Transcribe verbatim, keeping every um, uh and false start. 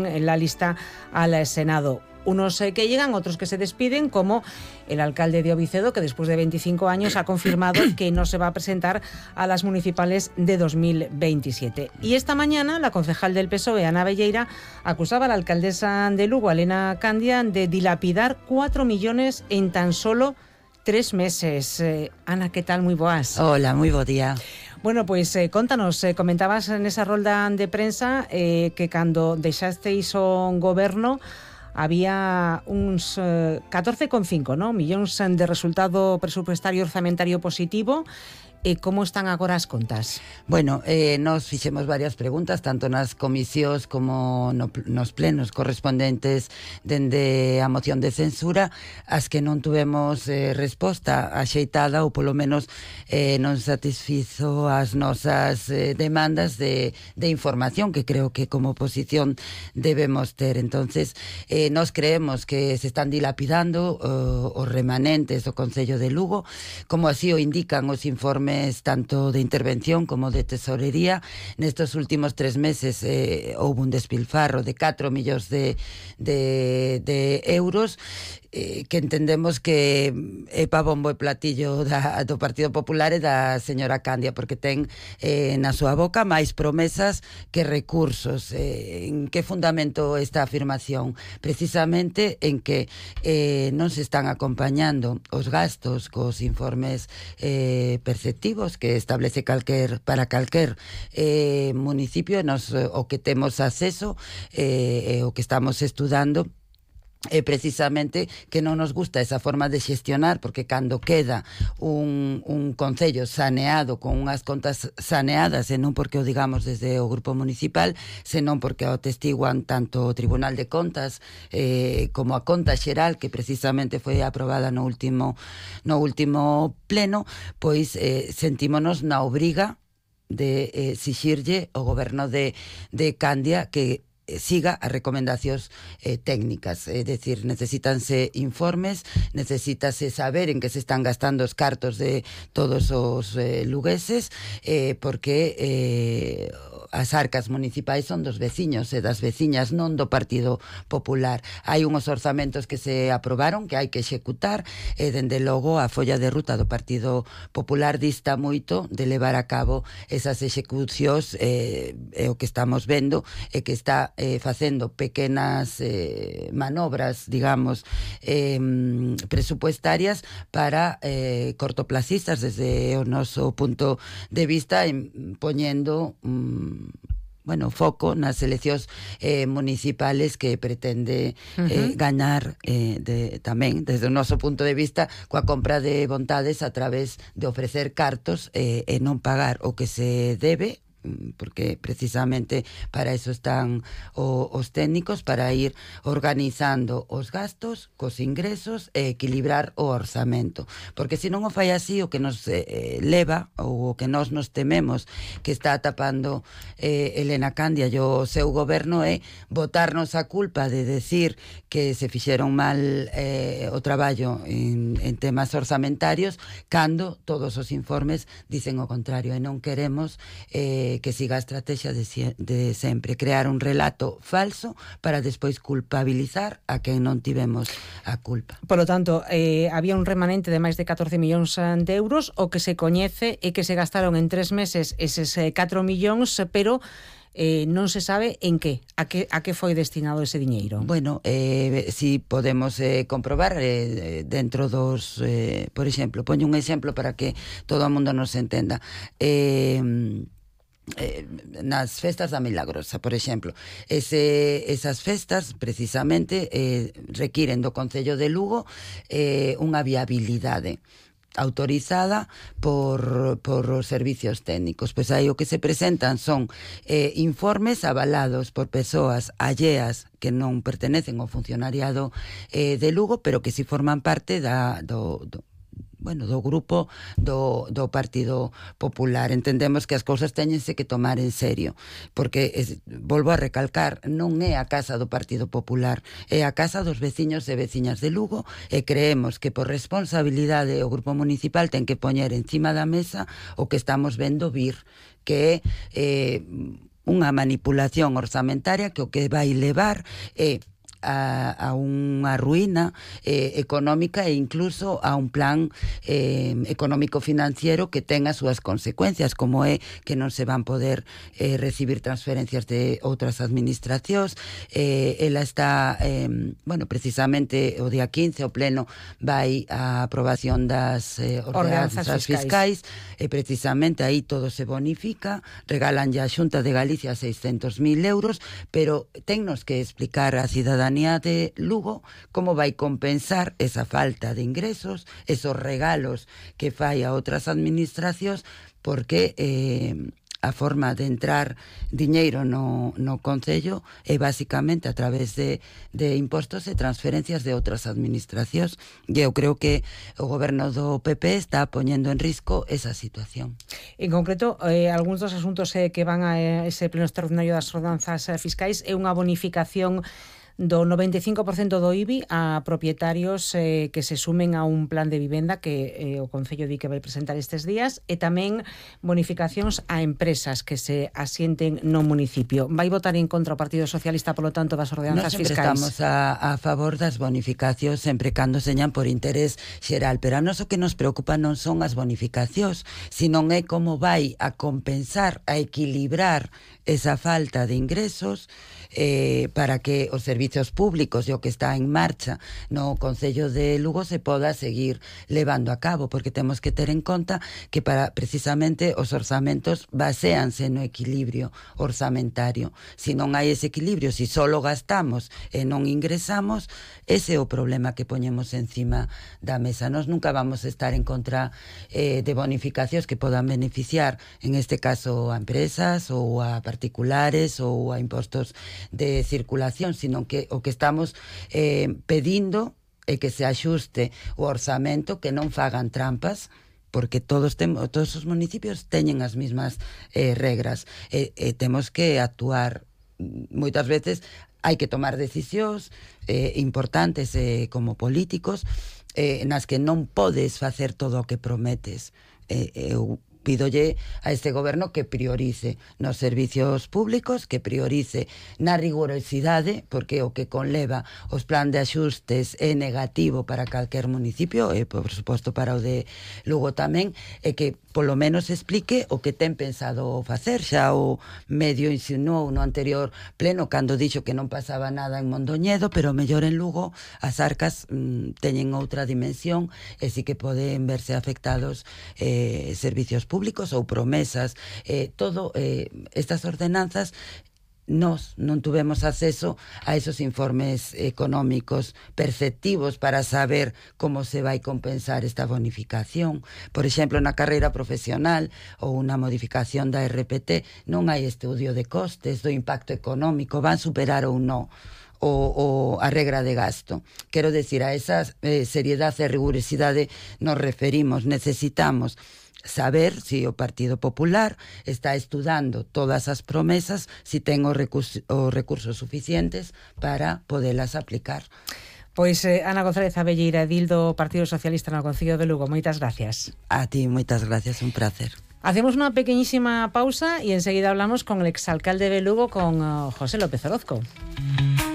en la lista al Senado. Unos eh, que llegan, otros que se despiden, como el alcalde de Ovicedo, que después de veinticinco años ha confirmado que no se va a presentar a las municipales de dos mil veintisiete. Y esta mañana la concejal del P S O E, Ana Belleira, acusaba a la alcaldesa de Lugo, Elena Candia, de dilapidar cuatro millones en tan solo tres meses. Eh, Ana, ¿qué tal? Muy boas. Hola, muy bo día. Bueno, pues eh, contanos, eh, comentabas en esa rolda de prensa eh, que cando deixasteis o goberno había uns eh, catorce coma cinco, ¿no? millóns de resultado presupuestario orzamentario positivo. E como están agora as contas? Bueno, eh, nos fixemos varias preguntas, tanto nas comisións como no, nos plenos correspondentes dende a moción de censura, as que non tuvemos eh, resposta axeitada ou polo menos eh, non satisfizo as nosas eh, demandas de, de información que creo que como oposición debemos ter. Entonces, eh, nos creemos que se están dilapidando uh, os remanentes do Concello de Lugo, como así o indican os informes tanto de intervención como de tesorería. Nestos últimos tres meses eh, houve un despilfarro de catro millóns de, de, de euros eh, que entendemos que é pa bombo e platillo da, do Partido Popular e da señora Candia, porque ten eh, na súa boca máis promesas que recursos. Eh, en que fundamento esta afirmación? Precisamente en que eh, non se están acompañando os gastos cos informes eh, perceptivos que establece calquer, para calquer eh, municipio, nos, o que temos acceso, eh, o que estamos estudando, é precisamente que non nos gusta esa forma de xestionar, porque cando queda un, un concello saneado, con unhas contas saneadas, e non porque o digamos desde o grupo municipal, senón porque o testiguan tanto o Tribunal de Contas eh, como a conta xeral, que precisamente foi aprobada no último no último pleno, pois eh, sentímonos na obriga de eh, exixirlle o goberno de, de Candia que siga as recomendacións eh, técnicas, é dicir, necesítanse informes, necesítase saber en que se están gastando os cartos de todos os eh, lugueses, eh, porque eh, as arcas municipais son dos veciños e das veciñas, non do Partido Popular. Hai unhos orzamentos que se aprobaron que hai que executar e, dende logo, a folla de ruta do Partido Popular dista moito de levar a cabo esas execucións, eh, e o que estamos vendo é que está eh, facendo pequenas eh, manobras, digamos, eh, presupuestarias para eh, cortoplacistas desde o noso punto de vista, en, poñendo mm, bueno, foco nas eleccións eh, municipales que pretende eh, uh-huh. gañar eh, de, tamén, desde o noso punto de vista, coa compra de vontades a través de ofrecer cartos eh, e non pagar o que se debe, porque precisamente para eso están o, os técnicos, para ir organizando os gastos cos ingresos e equilibrar o orzamento, porque se non o fai así, o que nos eh, leva, ou o que nós nos tememos que está tapando eh, Elena Candia e o seu goberno, é botarnos a culpa de decir que se fixeron mal eh, o traballo en, en temas orzamentarios, cando todos os informes dicen o contrario, e non queremos eh, que siga a estrategia de, de sempre, crear un relato falso para despois culpabilizar a quen non tivemos a culpa. Por lo tanto, eh, había un remanente de máis de catorce millóns de euros, o que se coñece é que se gastaron en tres meses eses eh, catro millóns, pero Eh, non se sabe en que, a que a que foi destinado ese diñeiro. Bueno, eh, si podemos eh, comprobar eh, dentro dos, eh, por exemplo, poño un exemplo para que todo o mundo nos entenda. Eh, Eh, nas festas da Milagrosa, por exemplo, ese, esas festas precisamente eh, requiren do Concello de Lugo eh, unha viabilidade autorizada por, por os servicios técnicos. Pois aí o que se presentan son eh, informes avalados por persoas alleas que non pertenecen ao funcionariado eh, de Lugo, pero que si forman parte da, do, do bueno, do grupo do, do Partido Popular. Entendemos que as cousas teñense que tomar en serio, porque, es, volvo a recalcar, non é a casa do Partido Popular, é a casa dos veciños e veciñas de Lugo, e creemos que por responsabilidade o grupo municipal ten que poñer encima da mesa o que estamos vendo vir, que é eh, unha manipulación orzamentaria que o que vai levar é A, a unha ruína eh, económica e incluso a un plan eh, económico-financiero que ten as súas consecuencias, como é que non se van poder eh, recibir transferencias de outras administracións. Eh, ela está, eh, bueno, precisamente o día quince o pleno vai a aprobación das eh, ordenanzas fiscais, fiscais e precisamente aí todo se bonifica, regalan ya a Xunta de Galicia seiscentos mil euros, pero tennos que explicar a cidadanía de Lugo como vai compensar esa falta de ingresos, esos regalos que fai a outras administracións, porque eh, a forma de entrar diñeiro no, no Concello é basicamente a través de, de impostos e transferencias de outras administracións, e eu creo que o goberno do P P está poñendo en risco esa situación. En concreto, eh, algúns dos asuntos eh, que van a ese pleno extraordinario das ordenanzas eh, fiscais é unha bonificación do noventa e cinco por cento do I B I a propietarios eh, que se sumen a un plan de vivenda que eh, o Concello di que vai presentar estes días, e tamén bonificacións a empresas que se asienten no municipio. Vai votar en contra o Partido Socialista, polo tanto, das ordenanzas fiscais? Nos sempre estamos a, a favor das bonificacións sempre cando señan por interés xeral, pero a nos o que nos preocupa non son as bonificacións, sino é como vai a compensar, a equilibrar esa falta de ingresos eh, para que os servizos públicos e o que está en marcha no Concello de Lugo se poda seguir levando a cabo, porque temos que ter en conta que para precisamente os orzamentos baséanse no equilibrio orzamentario. Si non hai ese equilibrio, si solo gastamos e non ingresamos, ese é o problema que poñemos encima da mesa. Nos nunca vamos a estar en contra eh, de bonificacións que podan beneficiar, en este caso, a empresas ou a particulares ou a impostos de circulación, sino que o que estamos eh, pedindo é que se axuste o orzamento, que non fagan trampas, porque todos temos, todos os municipios teñen as mesmas eh, regras, e, e temos que actuar. Moitas veces hai que tomar decisións eh, importantes eh, como políticos eh, nas que non podes facer todo o que prometes. Eh, eu pídolle a este goberno que priorice nos servicios públicos, que priorice na rigorosidade, porque o que conleva os plan de axustes é negativo para calquer municipio, e por suposto para o de Lugo tamén, e que polo menos explique o que ten pensado facer. Xa o medio insinuou no anterior pleno cando dixo que non pasaba nada en Mondoñedo, pero mellor en Lugo as arcas mmm, teñen outra dimensión e sí que poden verse afectados eh, servicios públicos públicos ou promesas, eh, todo eh, estas ordenanzas. Nos non tuvemos acceso a esos informes económicos perceptivos para saber como se vai compensar esta bonificación. Por exemplo, na carreira profesional ou unha modificación da R P T non hai estudio de costes do impacto económico, van superar ou non o, o a regra de gasto. Quero decir, a esa eh, seriedade e rigurosidade nos referimos. Necesitamos saber si o Partido Popular está estudando todas as promesas, si ten os recursos, os recursos suficientes para podelas aplicar. Pois eh, Ana González Abelleira, edil do Partido Socialista no Concello de Lugo, moitas gracias. A ti, moitas gracias, un placer. Hacemos unha pequeñísima pausa e enseguida hablamos con el exalcalde de Lugo, con uh, José López Orozco.